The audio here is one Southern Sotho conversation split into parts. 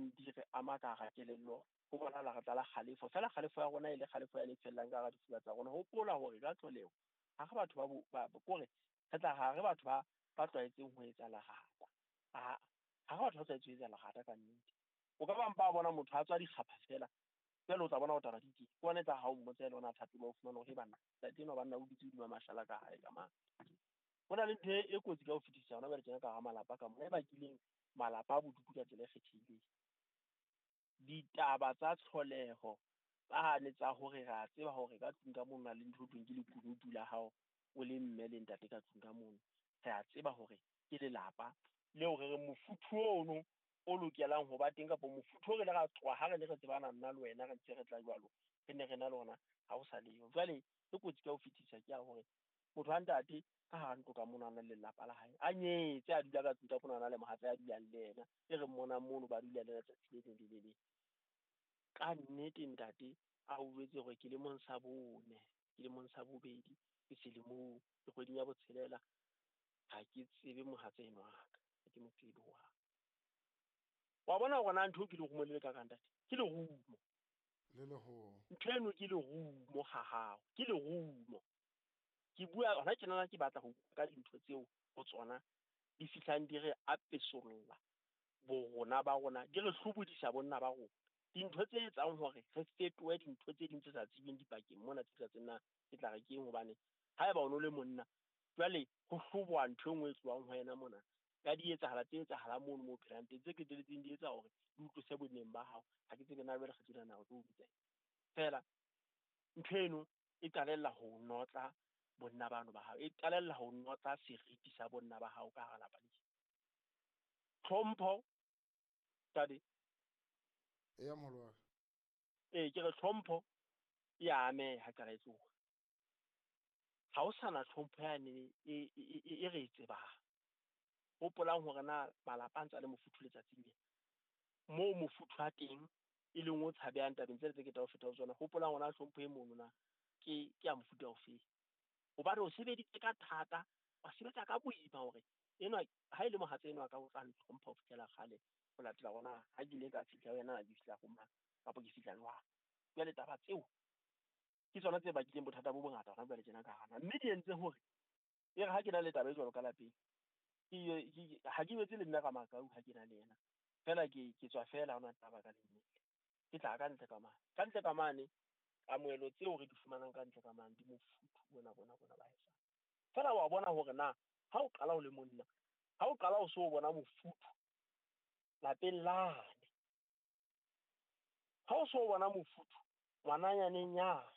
fihlileng di re ama ka hara kelello, ho bonahala re tlala kgalefo. Feela kgalefo ya rona e le kgalefo ya lefellang ka hara difuba tsa rona. Hopola hore ka tlholeho ha re batho ba kore re tla ha re batho ba tlwaetseng ho etsa lerata. Ha re batho ba tlwaetseng ho etsa lerata ka nnete. O ka ba mpa bona motho a tswa dikgapha fela, jwale o tla bona ho taba di teng. Ke ona e tla ha o mmotsa ele ona thato o fumana hore banna ntate enwa banna o dutse hodima mashala ka hae ka mane. Ho na le ntho e kotsi ka ho fetisisa hona jwale tjena ka hara malapa ka mona, e bakileng malapa a bodutu ka tsela e kgethehileng. Ditaba tsa tlholeho tsane tsa hore re a tseba hore ka tlung ka mono na le ntho e thweng ke lekunutu la hao o le mme le ntate ka tlung ka mono. Re a tseba hore ke lelapa leo re reng mofuthu ono o lokelang ho ba teng, kapa mofuthu o re le ra tloha ha re ne re tsebana nna le wena re ntse re tla jwalo, re ne re na le ona ha o sa leyo. Jwale e kotsi ka ho fetisa ke ya hore motho wa ntate ka hara ntlo ka mono a na le lelapa la hae, a nyetse, a dula ka tlung ka mono, a na le mohatsa a dulang le yena, e re mmonang mono ba dula le letsatsi le leng le le leng. Ka nnete ntate a o jwetse hore ke lemong sa bone, ke lemong sa bobedi, ke selemong, ke kgweding ya botshelela, ha ke tsebe mohatsa enwa wa ka, ha ke mo tsebe hohang. Wa bona hore na ntho ke lerumo le le ka kang ntate, ke lerumo. Le leholo. Ntho eno ke lerumo ha hao, ke lerumo. Ke bua hona tjenana ke batla ho bua ka dintho tseo ho tsona di fihlang di re apesolla borona ba rona, di re hlobodisa bonna ba rona. Dintho tse etsang hore re fetohe dintho tse ding tse sa tsebeng dipakeng mona tse sa tsebeng na ke tla re keng, hobane haeba o no le monna jwale ho hloboha ntho e nngwe e tlohang ho yena mona ka di etsahala tse etsahalang mono moo phelang teng, tse qetelletseng di etsa hore di utlwise bonneng ba hao. Ha ke tsebe na jwale kgetho ena nako ke o bitsa feela. Ntho eno e qalella ho notla bonna bano ba hao, e qalella ho notla seriti sa bonna ba hao ka hara lapa leo. Tlhompho tade Eya moholo wa ka. Ee, ke re tlhompho e a ameha qala e tloha. Ha o sana tlhompho yane e re e tsebang. Hopolang hore na malapa a ntse a le mofuthu letsatsing lena, moo mofuthu wa teng e leng o tshabehang tabeng tsena tse ke tla o feta ho tsona. Hopolang hore na tlhompho e mono na ke ya mofuta ofe, hobane o sebeditse ka thata, wa sebetsa ka boima hore enwa ha e le mohatsa enwa ka o tla ntlhompha ho fihlela kgale, ho latela hore na ha ke ile ka fihla ho yena, ke fihla ho mang kapa ke fihla jwang. Jwale taba tseo ke tsona tse bakileng bothata bo bongata hona jwale tjena ka hara, mme di entse hore e re ha ke na le taba e jwalo ka lapeng, ha ke jwetse le mme Ramakau ha ke na le yena fela, ke tswa fela ha hona taba ka lennete. Ke tla ka ntle ka mane, ka ntle ka mane kamohelo tseo re di fumanang ka ntle ka mane di mofuthu bona bona bona ba haesale. Fela wa bona hore na ha o qala o le monna, ha o qala o so bona mofuthu lapeng lane, ha o so bona mofuthu ngwananyaneng yane,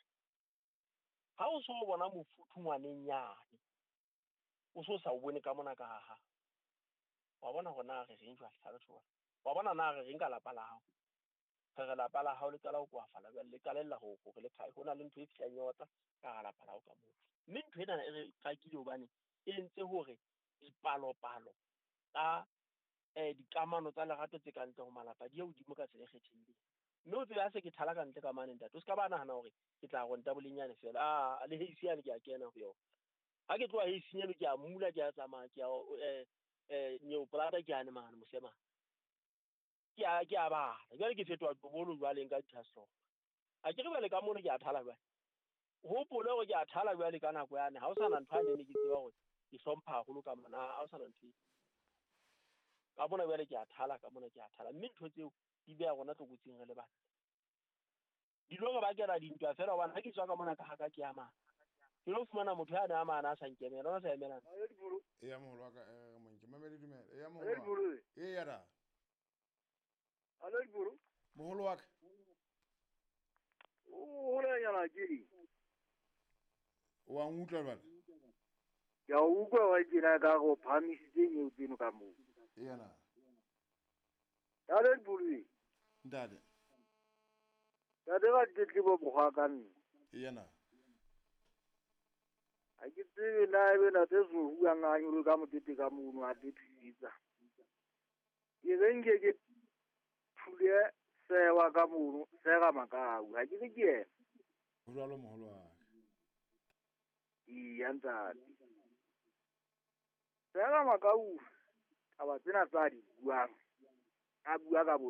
ha o so bona mofuthu ngwaneng yane, o so sa o bone ka mona ka ha hao. Wa bona hore na re reng jwale ha re tjho. Wa bona na re reng ka lapa la hao. Re re lapa la hao le qala ho koafala jwale, le qalella ho hore le khae, ho na le ntho e fihlang e otla ka hara lapa la hao ka moo. Mme ntho ena e re qakile hobane e entse hore dipalopalo tsa dikamano tsa lerato tse ka ntle ho malapa di ye hodimo ka tsela e kgethehileng. Mme o tsebe ha se ke thala ka ntle ka mane ntate, o ska ba nahana hore ke tla ronta bolenyane fela. Ah, le heisi yane ke a kena ho yona. Ha ke tloha heising eno ke a mula, ke a tsamaya, ke a Neoplata ke ane mane mosema. Ke a bala. Jwale ke fetoha tobolo jwale nka dithaso. Ha ke re jwale ka mono ke a thala jwale. Hopole hore ke a thala jwale ka nako yane. Ha o sana ntho ane ne ke tseba hore ke hlompha haholo ka mona, ha o sana ntho e. Ka mona jwale ke a thala, ka mona ke a thala. Mme ntho tseo di beha rona tlokotsing re le bana. Di lo re bakela dintwa fela hobane ha ke tswa ka mona ka haka ke a mane. Ke lo fumana motho ya nang a mane a sa nkemela, ona sa emelana. Eya moholo wa ka, monke mamedi dumela. Eya moholo wa ka. Eya da. Alo Dibolo. Moholo wa ka. O hola nyana ke. Wa nkutlwa jwale? Ke a utlwa wa tjena ka go phahamisitse nyeo tseno ka moo. Eya na. Alo Dibolo. Ntate. Ntate ba tletlebo mokgwa ka nna. Eya na. Ha ke tsebe na ebe ntate Zohu a nganyolo ka mokete ka mono a tletlisa. Ke re nke ke thule sewa ka mono, sega Makau, ha ke re ke yena. Ho jwalo moholo wa ka. Eya ntate. Sega Makau, taba tsena tsa di buang, a bua ka bo